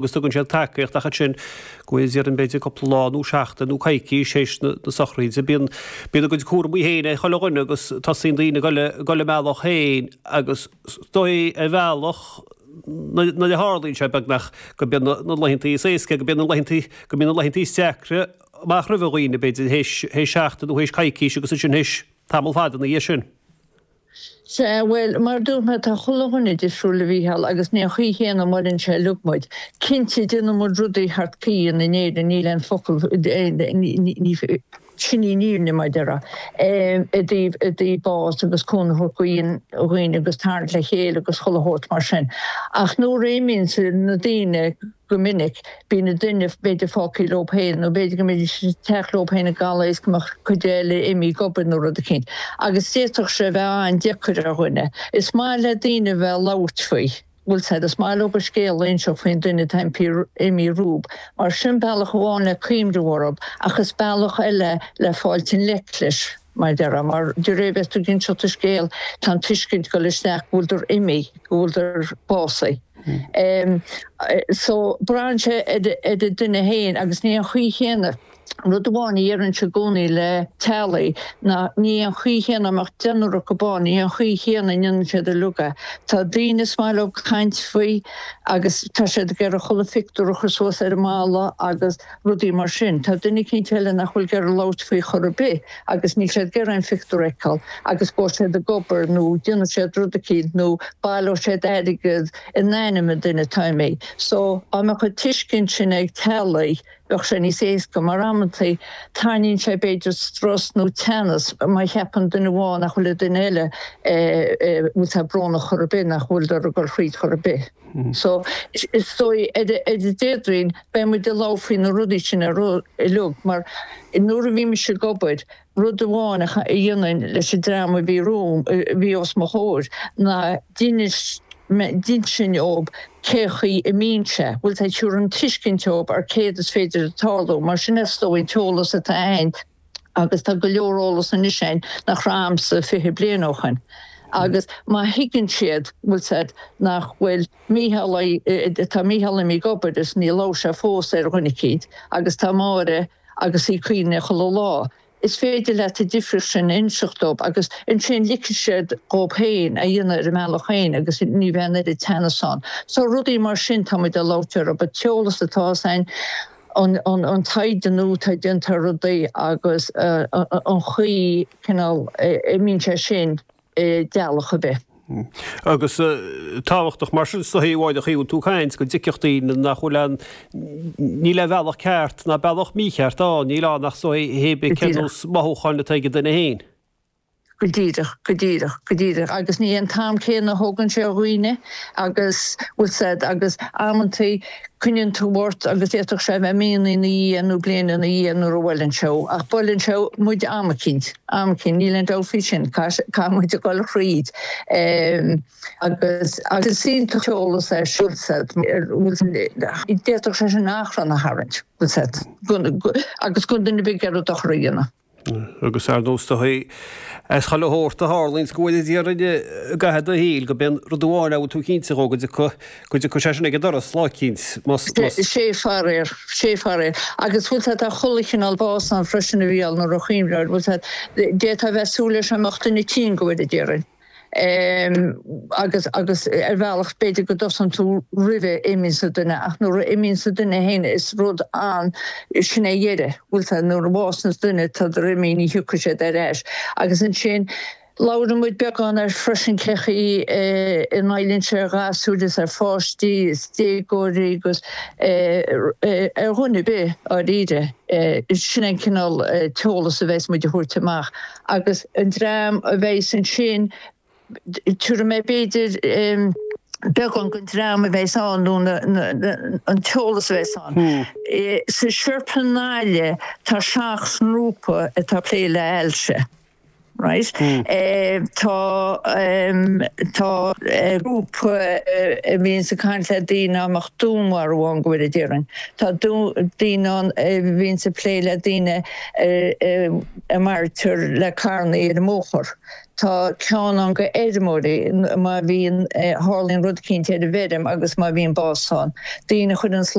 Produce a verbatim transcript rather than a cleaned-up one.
agus tugann siad tacaíocht ach ansin go bhfuil iad b'fhéidir cúpla lá nó seachtain nó coicís théis na sochraide. Bíonn bíonn a gcuid cúramaí féin ag chuile dhuine agus tosaíonn daoine ag dul ag dul a mbealach féin agus is dóigh ar bhealach nuair a tharlaíonn sé beagnach go mbíonn na laethanta is éasca go mbíonn na laethanta go mbíonn na laethanta is deacra amach roimh dhaoine b'fhéidir théis théis seachtain nó théis coicís agus ansin théis tamall fada ina dhiaidh sin. Sea, bhuel, mar a dúirt mé, tá chuile dhuine difriúil a Mhícheáil agus ní an chaoi chéanna a mhaireann sé uilig muid. Cinnte, déanann muid rudaí thart caoin in Éirinn, níl aon focal, sin í an fhírinne, mar a déarfá, i dtaobh, i dtaobh bás agus cúnamh a thabhairt do dhaoine agus tarraingt le chéile agus chuile shórt mar sin. Ach nuair a imíonn na daoine, Go minic, bíonn an duine b'fhéidir fágtha leo féin, nó b'fhéidir go mbeidís sa teach leo féin i gcaladh is go mbeadh cuid eile imithe ag obair nó rud eicínt. Agus d'fhéadfadh sé a bheith an-deacair ar dhuine. Is maith le daoine a bheith ag labhairt faoi, bhfuil 's a'd, is maith leo a scéal a inseacht faoin duine atá imithe rompu, mar sin bealach amháin le cuimhneamh orthu, ach is bealach eile le fáilt i ngleic leis, mar a déarfá, mar de réir bheith tú ag inseacht an scéil, tá an tuiscint ag dul isteach go bhfuiltear imithe, go bhfuiltear básaithe. So, braitheann sé ar an duine féin agus ní an chaoi chéanna. Rud amháin a deirimse i gcónaí le teaghlaigh ná ní an chaoi chéanna, dá mbeadh deichniúr acu ann, ní an chaoi chéanna a ndéanann siad uilig é. Tá daoine is maith leo caint faoi agus tá siad ag iarraidh chuile phictiúr a chur suas ar an mballa agus rudaí mar sin. Tá duine eicínt eile nach bhfuil ag iarraidh labhairt faoi chor ar bith agus níl siad ag iarraidh aon phictiúr a fheiceáil agus gabhfaidh siad ag obair nó déanfaidh siad rud eicínt nó baileoidh siad airgead in ainm an duine atá imithe. So, dá mbeadh an tuiscint sin ag teaghlaigh, bheadh sé níos éasca, mar amantaí tarraingíonn sé b'fhéidir strus nó teannas má cheapann duine amháin nach bhfuil an duine eile bhfuil sé brónach chor ar bith, nach bhfuil ag dul thríd chor ar bith. So, is dóigh ar an Déardaoin beidh muid ag labhairt faoi na rudaí sin uilig, mar nuair a bhí mise ag obair, Rud amháin a dhéanainn leis an dream a bhí romham, a bhí os mo chomhair, ná d'inis mé, d'insinn dhób cé chaoi a mbíonn sé, bhfuil 's a'd, thabharfainn tuiscint dhób ar céard is féidir a tarlú, mar sin is dóigh an t-eolas atá a'inn, agus tá go leor eolas anois a'inn nach raibh a'msa fiche bliain ó shoin. Agus má thuigeann siad, bhfuil 's a'd, nach bhfuil Mícheál, tá Mícheál imithe ag obair is níor labhair sé fós ar dhuine eicínt, agus tá Máire, agus í ag cuimhneamh chuile lá. Is féidir leat an difríocht sin a inseacht dóibh agus ansin ligfidh siad dhóibh féin a dhéanamh ar a mbealach féin agus ní bheidh an oiread teannas ann. So rudaí mar sin tá muid ag labhairt orthu, an t-eolas atá a'inn, an taighde nua atá déanta ar rudaí agus an chaoi cineál a mbíonn sé sin. i dteaghlach ar bith. Agus tábhachtach mar sin is dóigh a Mháire an chaoi a bhfuil tú ag caint go dtuigfeadh daoine nach bhfuil aon, níl aon bhealach ceart ná bealach mícheart ann, níl ann ach is dóigh hé bith cén nós mothúcháin atá ag an duine féin. Go díreach, go díreach, go díreach. Agus ní an t-am céanna a thógann sé ar dhaoine agus, bhfuil 's a'd, agus amantaí coinníonn tú ort agus d'fhéadfadh sé a bheith míonna ina dhiaidh nó bliain ina dhiaidh nuair a bhuaileann sé thú. Ach buaileann sé muid am eicínt, am eicínt, níl aon dabht faoi sin, caithfidh muid a dhul thríd. Agus is iontach an t-eolas é sin, bhfuil 's a'd, d'fhéadfadh sé sin achrann a tharraingt, bhfuil 's a'd, agus gan duine ar bith ag iarraidh dochar a dhéanamh. Agus ar ndóigh is dóigh as chuile shórt a tharlaíonns go bhfuil Dia orainn i gcaitheamh do shaoil, go b'é an rud amháin a bhfuil tú cinnte dhó go dtiocfaidh, go dtiocfaidh sé sin ag an doras lá eicínt, más, más. Sé faraor, sé faraor. Agus bhfuil 's a'd tá chuile chineál bás ann freisin a Mhícheáil nuair a chuimhneofá air, bhfuil 's a'd, d'fhéadfá a bheith ag súil leis an mbeadh duine tinn go bhfuil Dia orainn. Agus, agus ar bhealach b'fhéidir go dtosaíonn tú roimhe imíonns an duine ach nuair a imíonns an duine féin is rud an, sin é dheireadh, bhfuil 's a'd, nuair a bhásaíonns duine tádar imithe ní thiocfaidh siad ar ais. Agus ansin labhrann muid beagán air freisin cé chaoi a ngoilleann sé ar ghasúir is ar pháistí is déagóirí agus ar dhuine ar bith dháiríre. Sin é an cineál t-eolas a bheas muid a thabhairt amach. Agus an dream a bheas ansin, tabharfaidh mé b'fhéidir beagán den dream a bheas ann nó an t-eolas a bheas ann. Sa siopa i nGaillimh tá seacht ngrúpa atá ag plé le hailse. Right? Mm. Eh, tá um, tá eh, grúpa eh, a bhíonn ag caint le daoine a mbeadh dúnmharú ann go bhfuil déarfainn. Tá daoine ann a bhíonn ag plé le daoine a maraítear le carranna ar an mbóthar. Tá ceann ann go fheirmeoirí má bhíonn tharlaíonn rud éicint ar an bhfeirm agus má bhíonn bás ann. Daoine chuireann